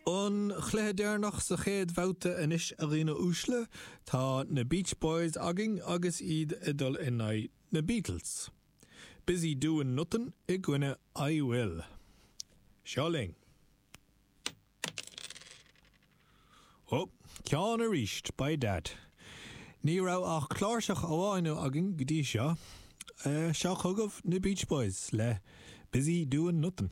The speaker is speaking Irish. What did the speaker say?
An cluiche deireanach sa chéad bhabhta anois a dhaoine uaisle, tá na Beach Boys againn agus iad ag dul in aghaidh na Beatles. Busy Doin' Nothin' i gcoinne I Will. Seo linn. Ó, ceann arís, by dad. Ní raibh ach cláirseach amháin againn go dtí seo. Seo chugaibh na Beach Boys le Busy Doin' Nothin'.